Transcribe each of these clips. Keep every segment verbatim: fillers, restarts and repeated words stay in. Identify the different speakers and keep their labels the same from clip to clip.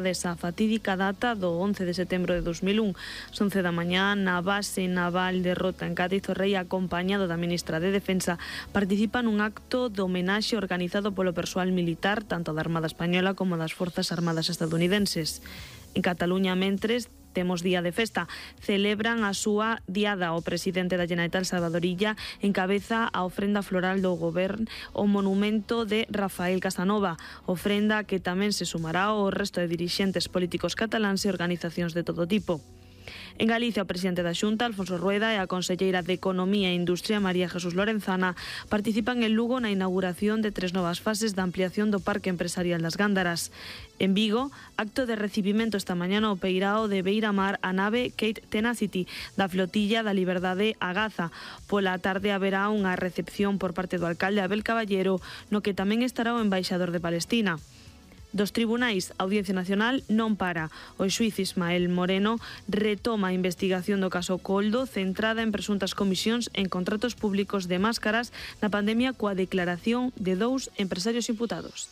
Speaker 1: desa fatídica data do once de setembro de dos mil un. Son once da mañá na base naval de Rota en Cádiz. O rei, acompañado da ministra de Defensa, participa nun acto de homenaxe organizado polo persoal militar tanto da Armada Española como das Forzas Armadas estadounidenses. En Cataluña, mentres, temos día de festa. Celebran a súa diada. O presidente da Generalitat, Salvador Illa, encabeza a ofrenda floral do Govern ao monumento de Rafael Casanova, ofrenda que tamén se sumará ao resto de dirixentes políticos cataláns e organizacións de todo tipo. En Galicia, o presidente da Xunta, Alfonso Rueda, e a conselleira de Economía e Industria, María Jesús Lorenzana, participan en Lugo na inauguración de tres novas fases da ampliación do Parque Empresarial das Gándaras. En Vigo, acto de recibimento esta mañá no Peirao de Beiramar a nave Kate Tenacity da flotilla da Liberdade a Gaza. Pola tarde haberá unha recepción por parte do alcalde Abel Caballero, no que tamén estará o embaixador de Palestina. Dos tribunais, a Audiencia Nacional non para. O xuíz Ismael Moreno retoma a investigación do caso Coldo, centrada en presuntas comisións en contratos públicos de máscaras na pandemia, coa declaración de dous empresarios imputados.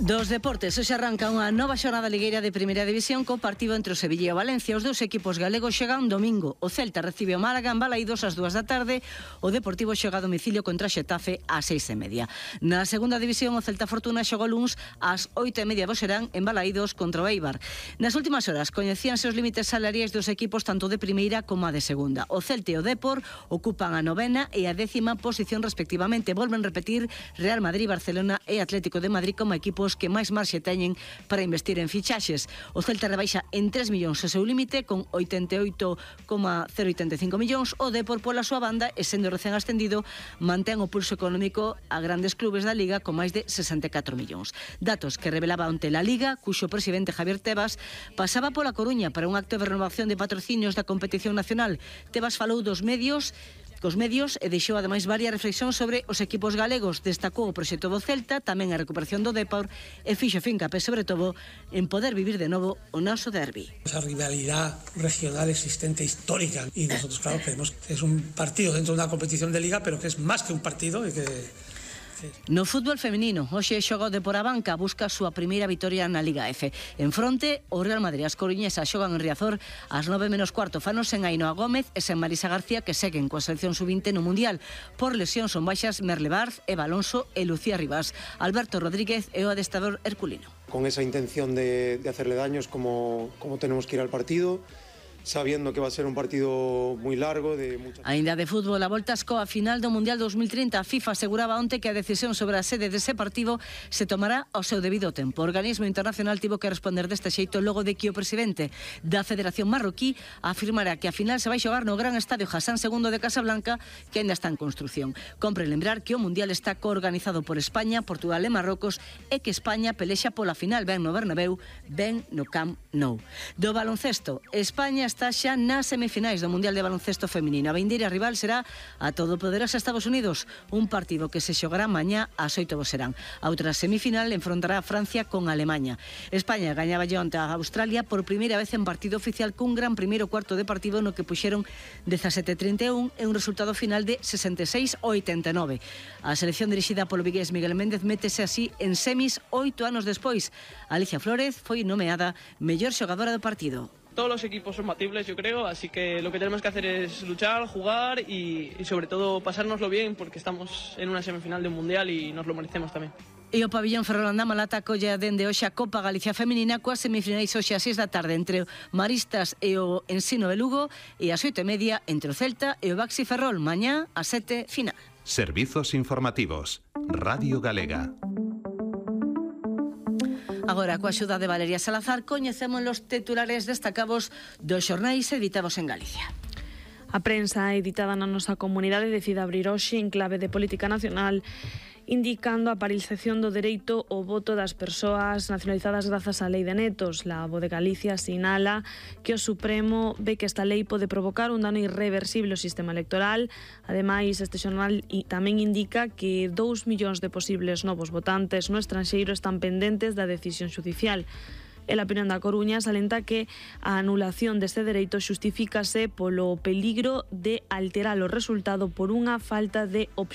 Speaker 2: Dos deportes, hoxe arranca unha nova xornada ligueira de Primeira División co partido entre o Sevilla e o Valencia. Os dous equipos galegos chegan domingo. O Celta recibe o Málaga en Balaídos ás dúas da tarde. O Deportivo xoga a domicilio contra Xetafe ás seis e media. Na segunda división, o Celta Fortuna xoga o luns ás oito e media do serán en Balaídos contra o Eibar. Nas últimas horas coñecíanse os límites salariais dos equipos tanto de primeira como a de segunda. O Celta e o Depor ocupan a novena e a décima posición respectivamente. Volven repetir Real Madrid, Barcelona e Atlético de Madrid como equipos que máis marxe teñen para investir en fichaxes. O Celta rebaixa en tres millóns o seu límite con oitenta e oito coma cero oitenta e cinco millóns. O Depor, pola súa banda, e sendo recén ascendido, mantén o pulso económico a grandes clubes da Liga con máis de sesenta e catro millóns. Datos que revelaba onte la Liga, cuxo presidente Javier Tebas pasaba pola Coruña para un acto de renovación de patrocinios da competición nacional. Tebas falou dos medios cos medios e deixou ademais varias reflexións sobre os equipos galegos. Destacou o proxecto do Celta, tamén a recuperación do Depor e fixo fincapé sobre todo en poder vivir de novo o noso derbi.
Speaker 3: Esa rivalidad regional existente histórica y nosotros claro creemos que es un partido dentro de una competición de liga, pero que es más que un partido y que
Speaker 2: No fútbol feminino, hoxe xoga o Depor a banca, busca a súa primeira vitoria na Liga F. En fronte, o Real Madrid e as coruñesas xogan en Riazor ás nove menos cuarto. Fanos en Ainhoa Gómez e sen Marisa García, que seguen coa selección sub vinte no Mundial. Por lesión son baixas Merle Barz, Eva Alonso e Lucía Rivas. Alberto Rodríguez e o adestrador herculino.
Speaker 4: Con esa intención de, de hacerle daños como, como tenemos que ir al partido, sabiendo que va a ser un partido moi largo de mucha...
Speaker 2: Ainda de fútbol, a voltas coa final do Mundial dos mil trinta. A FIFA aseguraba onte que a decisión sobre a sede dese partido se tomará ao seu debido tempo. O organismo internacional tivo que responder deste xeito logo de que o presidente da Federación Marroquí afirmara que a final se vai xogar no gran estadio Hassan segundo de Casablanca, que ainda está en construción. Compre lembrar que o Mundial está coorganizado por España, Portugal e Marrocos e que España pelexa pola final ben no Bernabéu, ben no Camp Nou. Do baloncesto, España está xa nas semifinais do Mundial de Baloncesto Feminino. A vindeira rival será a todopoderosa Estados Unidos, un partido que se xogará mañá ás oito do serán. A outra semifinal enfrontará a Francia con Alemaña. España gañaba onte a Australia por primeira vez en partido oficial cun gran primeiro cuarto de partido no que puxeron dezasete a trinta e un e un resultado final de sesenta e seis a oitenta e nove. A selección dirixida polo vigués Miguel Méndez métese así en semis oito anos despois. Alicia Flórez foi nomeada mellor xogadora do partido.
Speaker 5: Todos los equipos son batibles, yo creo, así que lo que tenemos que hacer es luchar, jugar y, y sobre todo pasárnoslo bien porque estamos en una semifinal de un mundial y nos lo merecemos tamén.
Speaker 2: E o pabillón Ferrol Andamalata colla dende hoxe a Copa Galicia Feminina coas semifinais hoxe ás seis da tarde entre o Maristas e o Ensino de Lugo e ás oito e media entre o Celta e o Baxi Ferrol. Mañá ás sete final.
Speaker 6: Servizos informativos. Radio Galega.
Speaker 2: Agora, coa axuda de Valeria Salazar, coñecemos os titulares destacados dos xornais editados en Galicia.
Speaker 1: A prensa editada na nosa comunidade decide abrir hoxe en clave de política nacional, indicando a paralización do dereito ao voto das persoas nacionalizadas grazas á lei de netos. La Voz de Galicia sinala que o Supremo ve que esta lei pode provocar un dano irreversible ao sistema electoral. Ademais, este xornal tamén indica que dous millóns de posibles novos votantes no estranxeiro están pendentes da decisión xudicial. E a opinión da Coruña salenta que a anulación deste dereito xustifícase polo peligro de alterar o resultado por unha falta de obxectividade.